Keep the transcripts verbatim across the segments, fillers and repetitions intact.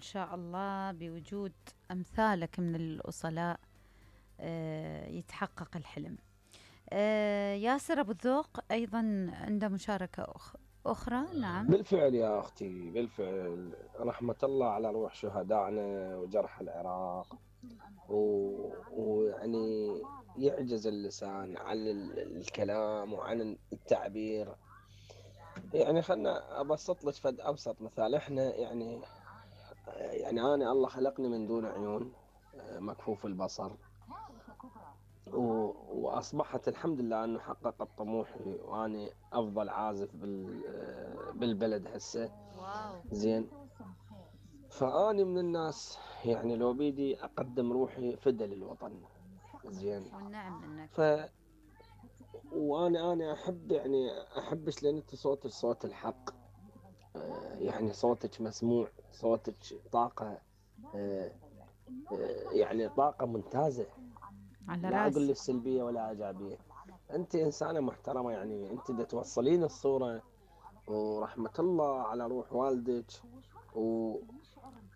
وإن شاء الله بوجود أمثالك من الأصلاء آه يتحقق الحلم. آه ياسر أبو الذوق أيضا عنده مشاركة أخ أخرى. نعم بالفعل يا أختي، بالفعل، رحمة الله على روح شهدائنا وجرح العراق. ويعني يعجز اللسان عن الكلام وعن التعبير. يعني خلنا أبسط لك فد أبسط مثال. إحنا يعني يعني أنا الله خلقني من دون عيون، مكفوف البصر، وأصبحت الحمد لله أنه حققت طموحي وأنا أفضل عازف بالبلد هسه. زين، فأني من الناس يعني لو بيدي أقدم روحي فدى للوطن. زين، والنعم منك. ف وأنا أنا أحب يعني أحبش لأن أنت صوت الصوت الحق. يعني صوتك مسموع، صوتك طاقة، يعني طاقة ممتازة. لا أقول لك سلبية ولا إيجابية. أنت إنسانة محترمة، يعني أنت دا توصلين الصورة. ورحمة الله على روح والدك و...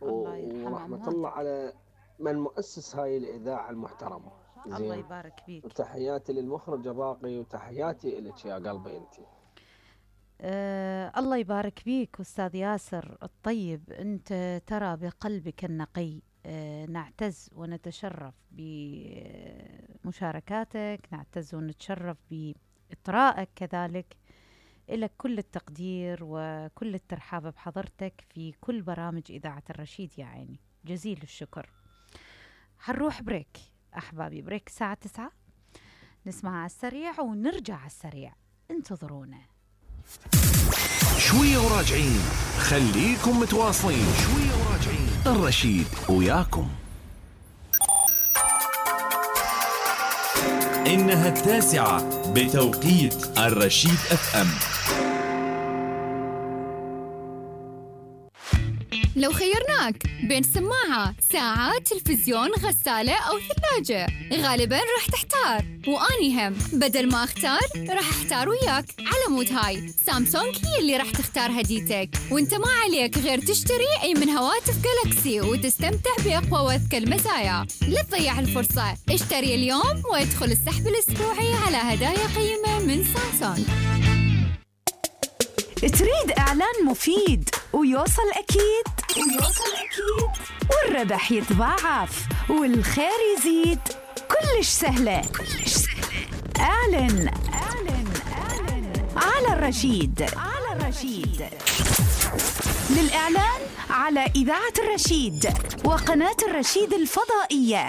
ورحمة الله على من مؤسس هاي الإذاعة المحترمة. الله يبارك فيك. وتحياتي للمخرج الراقي وتحياتي لك يا قلبي أنت. أه الله يبارك فيك أستاذ ياسر الطيب. أنت ترى بقلبك النقي. أه نعتز ونتشرف بمشاركاتك، نعتز ونتشرف بإطرائك كذلك. إلك كل التقدير وكل الترحاب بحضرتك في كل برامج إذاعة الرشيد. يا عيني جزيل الشكر. هنروح بريك أحبابي، بريك الساعة تسعة، نسمع على السريع ونرجع على السريع، انتظرونا. شوية وراجعين، خليكم متواصلين. شوية وراجعين، الرشيد وياكم. إنها التاسعة بتوقيت الرشيد أف أم. لو خيرناك بين سماعة، ساعة، تلفزيون، غسالة أو ثلاجة، غالباً راح تحتار. وأني هم بدل ما أختار راح أحتار وياك. على مود هاي سامسونج هي اللي راح تختار هديتك، وانت ما عليك غير تشتري أي من هواتف جالاكسي وتستمتع بأقوى وأذكى المزايا. لا تضيع الفرصة، اشتري اليوم وادخل السحب الأسبوعي على هدايا قيمة من سامسونج. تريد إعلان مفيد ويوصل أكيد ويوصل أكيد والربح يتضاعف والخير يزيد؟ كلش سهلة كلش سهلة. أعلن أعلن أعلن على الرشيد على الرشيد. للإعلان على إذاعة الرشيد وقناة الرشيد الفضائية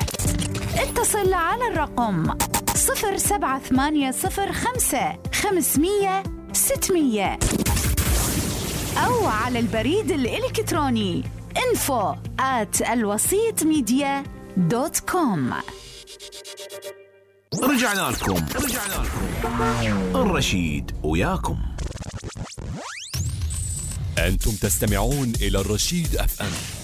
اتصل على الرقم صفر سبعة ثمانية صفر خمسة خمسمية ستمية أو على البريد الإلكتروني info at الوسيط ميديا دوت كوم. رجعنا لكم رجعنا لكم الرشيد وياكم. أنتم تستمعون إلى الرشيد أف أم.